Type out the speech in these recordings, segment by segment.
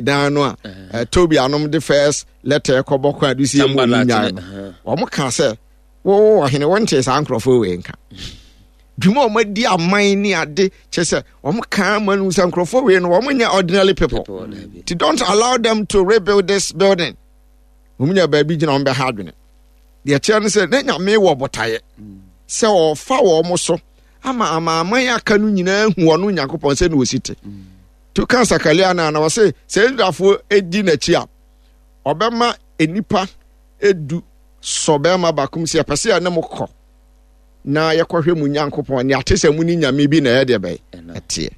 Dan no a Toby anom de first letter kɔbɔ kwan de si emu ɔmo nyae no, wɔn ka sɛ wo ɔhene wɔnte saa nkurɔfoɔ wei nka dwuma a wɔn adi aman ne ade kyɛ sɛ wɔn ka ama no sɛ nkurɔfoɔ wei no wɔn nyɛ ordinary people ti don't allow them to rebuild this building. Wɔn nya baabi gyina wɔn bɛha adwene. Deɛ kyerɛ no sɛ ne Nyame wɔ botaeɛ sɛ ɔfa wɔn so ama amanaman aka no nyinaa hu ɔno Nyankopɔn sɛ na ɔsi te. To ka Sakaria no a na ɔse sɛ Israelfoɔ di n'akyi a ɔbɛma nnipa edu sɔ bɛrima baako mu sɛ yɛpɛ sɛ yɛne mo kɔ na yɛkɔhwɛ mu Nyankopɔn ne ate sɛ mu ne nyame bi na ɛyɛ deɛ bɛyɛ ɛteɛ.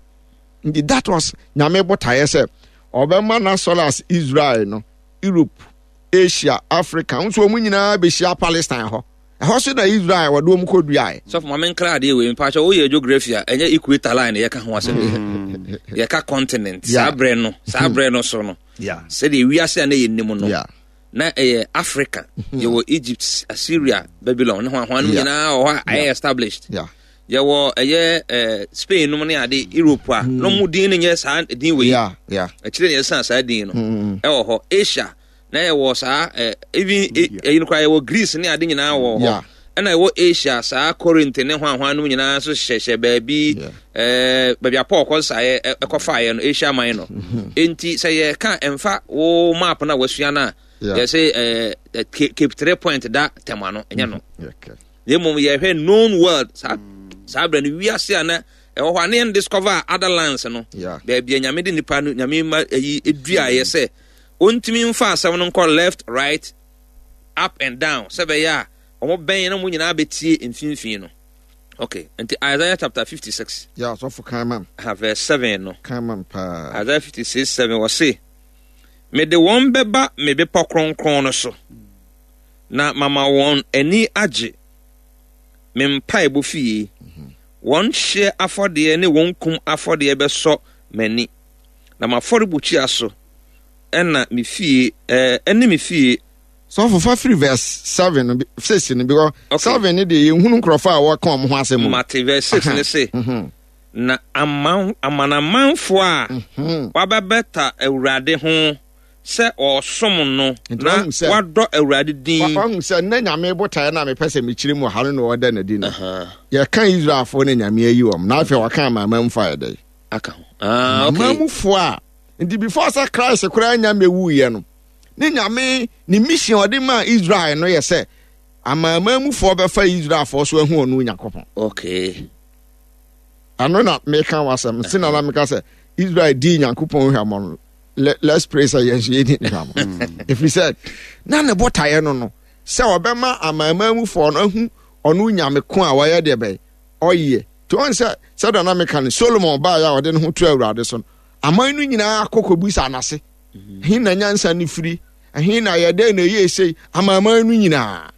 Nti that was Nyame botaeɛ sɛ ɔbɛma n'asɔre as Israel no Europe, Asia, Africa nso wɔn nyinaa bɛhyia Palestine hɔ. Ɛhɔ so na Israel wɔde wɔn kɔduaeɛ. Sɔfo ma menkra adeɛ wei mpakyɛ woyɛ geography a ɛnyɛ equator line yɛka ho asɛm mm. Yɛka continent saa berɛ no saa berɛ no so no sɛdeɛ wiase a na yɛnim no na ɛyɛ Africa mm-hmm. Yɛwɔ Egypt, Assyria, Babylon ne ho ahoa no nyinaa wɔ hɔ a ɛyɛ established. Yɛwɔ ɛyɛ ɛɛ Spain nom ne ade Europe a na ɔmo din no nyɛ saa din wei. Akyire na yɛsan saa din no ɛwɔ hɔ. Asia na yɛwɔ saa ɛɛ even ɛyi no koraa yɛwɔ Greece ne ade nyinaa wɔ hɔ. Ɛna ɛwɔ Asia saa Corinth ne hwan hwan nom nyinaa nso hyehyɛ baabi ɛɛ baabi a Paul kɔ nsaeɛ ɛkɔfaeɛ no Asia Minor. Enti sɛ yɛka ɛmfa wo map no a wasua no a yɛsɛ ɛɛ Cape Three Point da tɛm ano ɛnyɛ no. Na mmom yɛhwɛ known world saa saa berɛ no wiase a na ɛwɔ hɔ a na yɛn discover other lands no baabi a Nyame de nipa no Nyame ma ayi eduaeɛ sɛ ɔntumi mfa asɛm no nkɔ left, right, up and down sɛ bɛyɛ a wɔn bɛn na wɔn nyinaa bɛtie mfimfini no. Okay, nti Isaiah chapter 56. Yeah, sɔfo kan mam. Ha verse 7 no. Kan mam paa. Isaiah 56 7 wɔ se, mede wɔn bɛba me bepɔ kronkron no so. Na mama wɔn ani agye me mpaebɔ fie. Wɔn hyeɛ afɔdeɛ ne wɔn kum afɔdeɛ bɛsɔ m'ani, na m'afɔrebukyia so na me fie ɛne me fie. Sɔfo fa firi verse 7 no 6 no because okay. 7 no deɛ yɛnhunu nkurɔfoɔ a wɔka wɔn ho asɛm. Mate verse 6 ne se na amanamanfoɔ a wɔabɛbɛta Awurade ho sɛ ɔresom no na wadɔ Awurade din. Wahu sɛ nnɛ Nyame botaeɛ no a mepɛ sɛ mekyerɛ mu wɔ ha no na ɔda n'adi no. Yɛka Israelfoɔ no Nyame ayi wɔn na afei wɔka amanamanmufoɔ ayɛ dɛn? Aka ho. Ah, okay. Amanamanmufoɔ a nti before sɛ Christ koraa nya mɛwuiɛ no ne Nyame ne mission ɔde maa Israel no yɛ sɛ amanamanmufoɔ bɛfa Israelfoɔ so ahu ɔno Onyankopɔn. Okay. Ɛno na meka w'asɛm nti na na meka sɛ Israel dii Nyankopɔn hwammɔ no. Let's pray sɛ yɛn nso yɛdi ne hwammɔ ɛfiri sɛ na ne botaeɛ no sɛ ɔbɛma amanaman mufoɔ no ahu ɔno Nyame ko a wɔyɛ deɛ bɛyɛ ɔyɛ. Nti ɔn sɛ sɛdeɛ na meka no Solomon baeɛ a ɔde ne ho to Awurade so no aman no nyinaa kɔkɔbisa n'ase he na nyansa no firi ɛhe na yɛdɛn na ɛyɛ sei amanaman no nyinaa.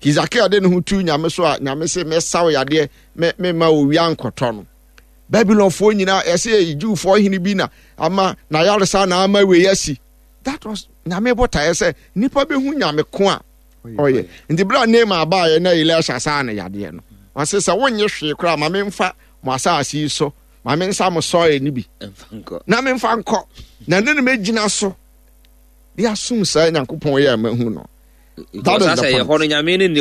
Hesekiel de ne ho tu Nyame so a Nyame se mɛsaw yadeɛ mema owia nkɔtɔ no. Babylonfoɔ nyinaa ɛsɛ yɛ Jewfoɔ hene bi na ama na yaresa na ama wei asi. That was Nyame botaeɛ sɛ nipa bɛhu Nyame ko a ɔyɛ. Nti berɛ a Naaman baeɛ na Elisha saa no yadeɛ no, ɔse sɛ wonnye hwee koraa ma memfa mo asase yi so ma mensa mo sɔre no bi na memfa nkɔ na ne no mɛgyina so de asom saa Nyankopɔn yɛ a mahu no. That is the point.